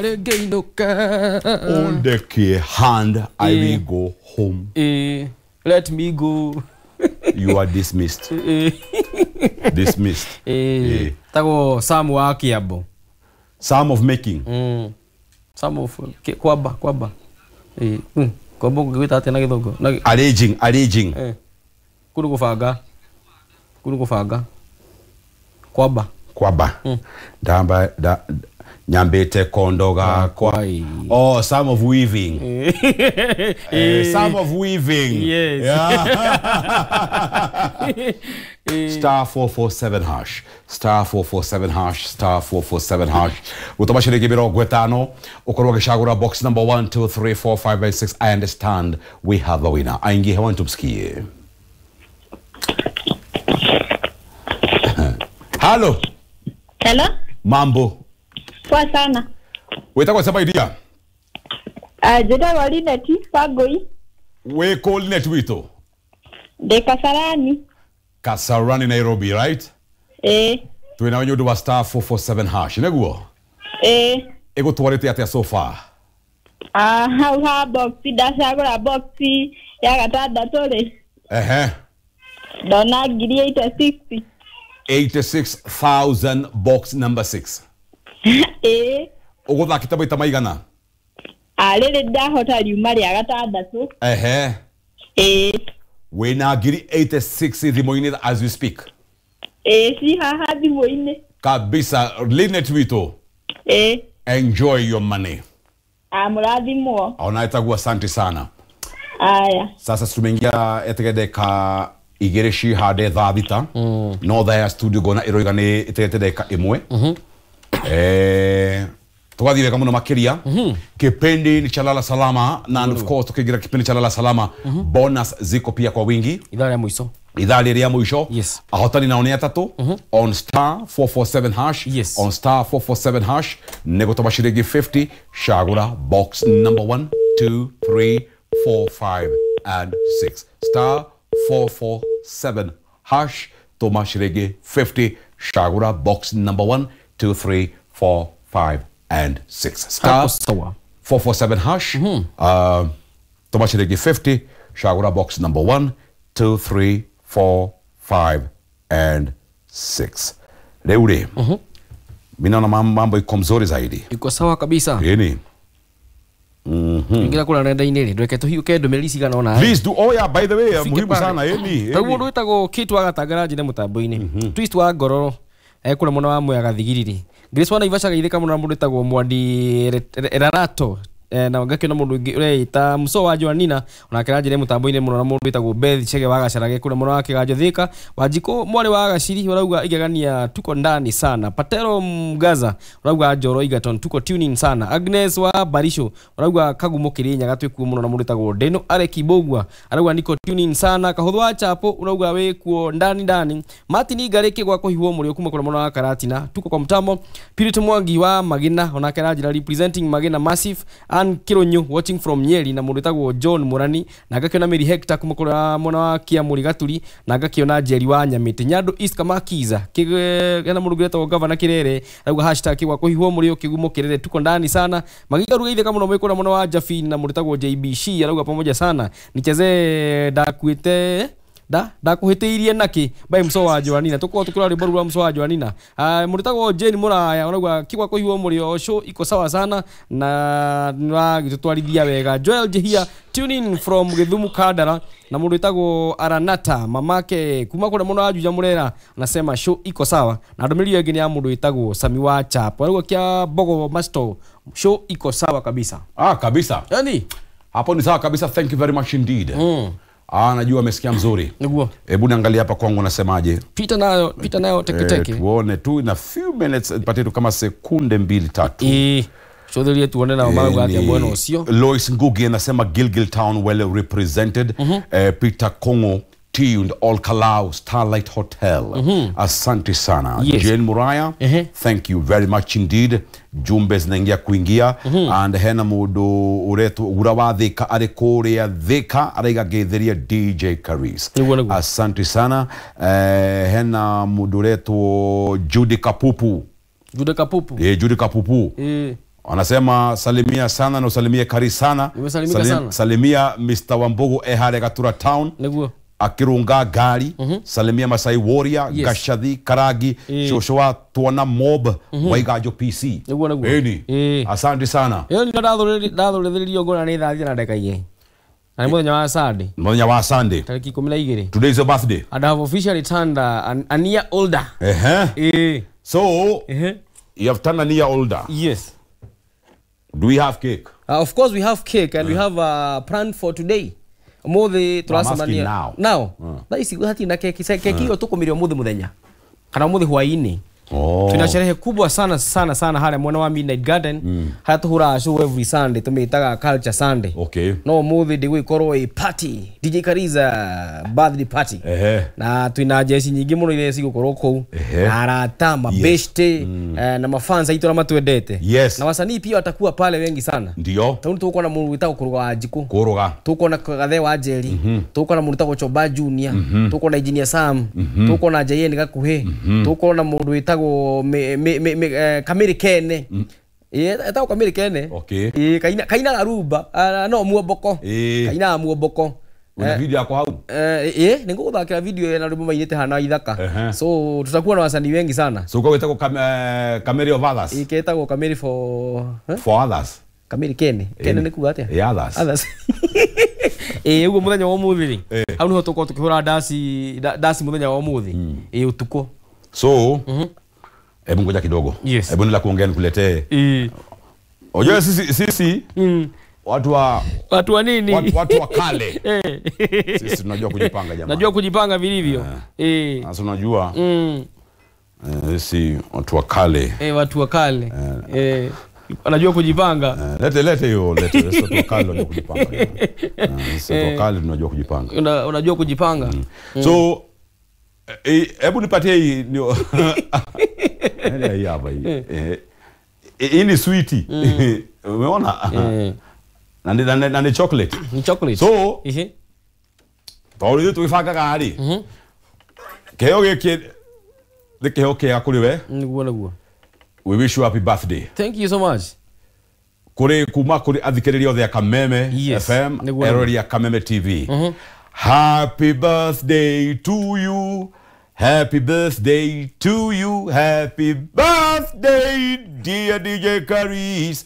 Rĩngĩinũke. Undekie hand, I will go home. Let me go. You are dismissed. Dismissed. Tagwo Sam wa Kiambo. Sam of making. Sam of kwamba kwamba. Kwamba ũngĩgwĩta atĩa na gĩthũngũ? Arranging, arranging. Kũu nĩ gũbanga. Kũu nĩ gũbanga. Kwamba. Kwamba. Ndamba da nyambĩte kondo gakwa. Oh, Sam of weaving. Sam of weaving. Yes. Yeah. Star 447 hash. Star 447 hash. Star 447 hash. Gũtũma ciringi 50 ũkorwo ũgĩcagũra box number 1 2 3 4 5 and 6. I understand we have a winner. Aingie hewani tumsikie. Halo. Hello. Mambo. Poa sana. Wĩtagwo sema idea. Njĩtagwo Linet Wangũi. Wĩ kũ Linet witũ? Ndĩ Kasarani. Kasarani Nairobi, right? Twĩ nawe nĩ ũndũ wa star 447 hash, nĩguo? Ĩgũtwarĩte atĩa so far? Hau ha box ndacagũra box ya gatandatũ rĩ. Ndona ngiri 86. 86,000 box number 6. Ũgũthakĩte maita maigana? Rĩrĩ ndahota riuma rĩa gatandatũ. Wĩna ngiri 86 thimũ-inĩ as we speak. Ci haha thimũ-inĩ. Kabisa, Linet witũ. Enjoy your money. Mũrathimwo. Ona ĩtagwo asante sana. Aya. Sasa tumeingia etegete ka igĩrĩ cihande thaa thita. No thaa ya studio ngona ĩroiga nĩ ĩtegete ndagĩka ĩmwe. Tugathiĩ wega mũno makĩria. Kipindi ni cha Lala Salama na of course tukiingira kipindi cha Lala Salama bonus ziko pia kwa wingi. Ithaa rĩa mũico. Ithaa rĩrĩa mũico. Yes. Ahotani nao nĩ atatũ. On star 447 hash. Yes. On star 447 hash nĩ gũtũma ciringi 50 cagũra box number 1 2 3 4 5 and 6. Star 447 hash tũma ciringi 50 cagũra box number 1 2 3 4 5 and 6. Star 447 hash. Tũma ciringi 50 cagũra box number 1 2 3 4 5 and 6. Rĩu rĩ, mimi naona mambo iko mzuri zaidi. Iko sawa kabisa. Yeni. Ingira kũrĩa nenda-inĩ rĩ, ndweke tũhiũke ndũmĩrĩri cigana ũna. Please do. Oh yeah, by the way, muhimu sana yeni. Rĩu mũndũ wĩtagwo Kate wa Gatangara njĩre mũtambo-inĩ. Twist wa Ngororo kũrĩa mwena wa Mwea Gathigiriri. Grace wa Naivasha geithĩka mũno na mũndũ wĩtagwo Mwandi Erarato. Na ngakĩona mũndũ ũngĩ ũreĩta Muso wa Joanina onake aranjĩre mũtambo-inĩ mũno na mũndũ wĩtagwo Beth Chege wa Gacarage kũrĩa mwena wa Kĩganjo Thika. Wanjikũ mwarĩ wa Gaciri ũrauga igegania tuko ndani sana. Patero Mgaza ũrauga Njoro Egerton tuko tuning sana. Agnes wa Barisho ũrauga Kagumo Kĩrĩnyaga twĩkuo mũno na mũndũ wĩtagwo Deno Areki Bogwa arauga niko tuning sana. Kahũthũ wa Chapo ũrauga wĩkuo ndani ndani. Martin Ngarĩki gwa kũhihwo mũrĩo kuma kũrĩa mwena wa Karatina tuko kwa mtamo. Purity Mwangi wa Magina onake aranjĩra representing Magina Massive. Ann Kirunyu watching from Nyeri na mũndũ wĩtagwo John Murani na ngakĩona Mary Hector kuma kũrĩa mwena wa Kiamuri Gaturi na ngakĩona Jerry wa Nyamĩtĩ Nyandũ East Kamakiza kĩna mũndũ ũngĩ wĩtagwo Governor Kirere arauga hashtag gwa kũhihwo mũrĩo kĩgumo Kirere tuko ndani sana. Magiga rugeithĩka mũno mwĩ kũrĩa mwena wa Jafin na mũndũ wĩtagwo JBC arauga pamoja sana nicheze ndakuĩte ndakuhĩtĩirie nakĩ by Muso wa Joanina tũkorwo tũkĩrora rwĩmbo rũu rwa Muso wa Joanina. Mũndũ wĩtagwo Jane Mũraya ũrauga kĩgwa kũhihwo mũrĩo show iko sawa sana na nĩwagĩtũtwarithia wega. Joel Jehia tune in from Githumu Kandara na mũndũ wĩtagwo Aranata mamake kuma kũrĩa mũno wa Juja Mũrera anasema show iko sawa na ndũmĩrĩri ĩyo ĩngĩ nĩ ya mũndũ wĩtagwo Sami wa Chapo arauga kĩa Bogo Masto show iko sawa kabisa. Kabisa. Yani hapo ni sawa kabisa. Thank you very much indeed. Najua amesikia mzuri. Niguo. Hebu niangalie hapa kwangu nasemaje. Pita nayo teke teke. Tuone tu in a few minutes, patie tu kama sekunde 2 3. Shodherie tuone na mama yake bwana usio. Lois Ngugi anasema Gilgil Town well represented. Peter Kongo tuned All Kalau Starlight Hotel. Asante sana. Yes. Jane Muraya, thank you very much indeed. Jumbe zinaingia kuingia. And hena mundu uretwo ura wa Thika ari kuria Thika araiga ngetheria DJ Karis. Asante sana. Hena mundu uretwo Judy Kapupu. Judy Kapupu. Judy Kapupu. Anasema salimia sana na usalimie Kari sana. Nimesalimika sana. Salimia Mr. Wambugu Ehare Gatura Town. Niguo. Akirunga gari. Salimia Masai Warrior, Yes. Gashadhi Karagi, Shoshoa Tuona Mob, Waigajo PC. Niguo niguo. Eni. Asante sana. Ĩyo nĩ ndathũrĩrĩrio ngona nĩ thaa thita na ndagĩka igĩrĩ. Na nĩ mũthenya wa Sunday. Mũthenya wa Sunday. Tarĩki 12. Today is your birthday. And I have officially turned a year older. Ehe. So, you have turned a year older. Yes. Do we have cake? Of course we have cake and we have a plan for today. Umuthi turacemania now. Now. Thaa ici hatirĩ na keki. Keki ĩyo tũkũmĩrĩa ũmũthĩ mũthenya. Kana ũmũthĩ hwaĩ-inĩ. Oh. Tuna sherehe kubwa sana sana sana harĩa mwena wa Midnight Garden. Harĩa tũhũraga show every Sunday tũmĩtaga Culture Sunday. Okay. No ũmũthĩ ndĩgũgĩkorwo ĩ party. DJ Kariza birthday party. Ehe. Na twina jeshi nyingĩ mũno iria cigũkorwo kũu. Ehe. Na arata, mabeshte, na mafans aitũ arĩa matwendete. Yes. Na wasanii pia watakuwa pale wengi sana. Ndio. Tondũ tũgũkorwo na mũndũ wĩtagwo Kũrũga wa Njikũ. Kũrũga. Tũgũkorwo na Gathe wa Njeri. Tũgũkorwo na mũndũ wĩtagwo Choba Junior. Tũgũkorwo na Engineer Sam. Tũgũkorwo na Jayen Gakuhĩ. Tũgũkorwo na mũndũ wĩtagwo Kamĩrĩ Kene. Etagwo Kamĩrĩ Kene. Okay. Kainaga rumba. No muomboko. Kainaga muomboko. Una video yako hau? Nĩ ngũgũthakĩra video na rwĩmbo mainĩte hana ithaka. So tutakuwa na wasanii wengi sana. So kwa wĩtagwo Kamĩrĩ of others. Ĩketagwo Kamĩrĩ for For others. Kamĩrĩ Kene. Kene nĩ kuga atĩa? Yeah, others. Others. Ũguo mũthenya wa ũmũthĩ rĩ. Hau nĩho tũkorwo tũkĩhũra ndaci mũthenya wa ũmũthĩ. Ũtukũ. So, hebu ngoja kidogo. Yes. Hebu nila kuongea nikuletee. Unajua sisi watu wa Watu wa nini? Watu wa kale. Sisi tunajua kujipanga jamani. Najua kujipanga vilivyo. Sasa unajua. Sisi watu wa kale. Watu wa kale. Wanajua kujipanga. Lete hiyo, lete. Sisi watu wa kale tunajua kujipanga. Sisi watu wa kale tunajua kujipanga. Unajua kujipanga. So hebu nipatie hii ndio. Hii hapa hii. Hii ni sweetie. Umeona? Na ni chocolate. Ni chocolate. So, tondũ ithuĩ tũgĩbangaga rĩ, kĩheo gĩkĩ nĩ kĩheo kĩega kũrĩ we. Nĩguo nĩguo. We wish you happy birthday. Thank you so much. Kũrĩ kuma kũrĩ athikĩrĩria othe a Kameme FM, eroreri a Kameme TV. Happy birthday to you. Happy birthday to you. Happy birthday dear DJ Karis.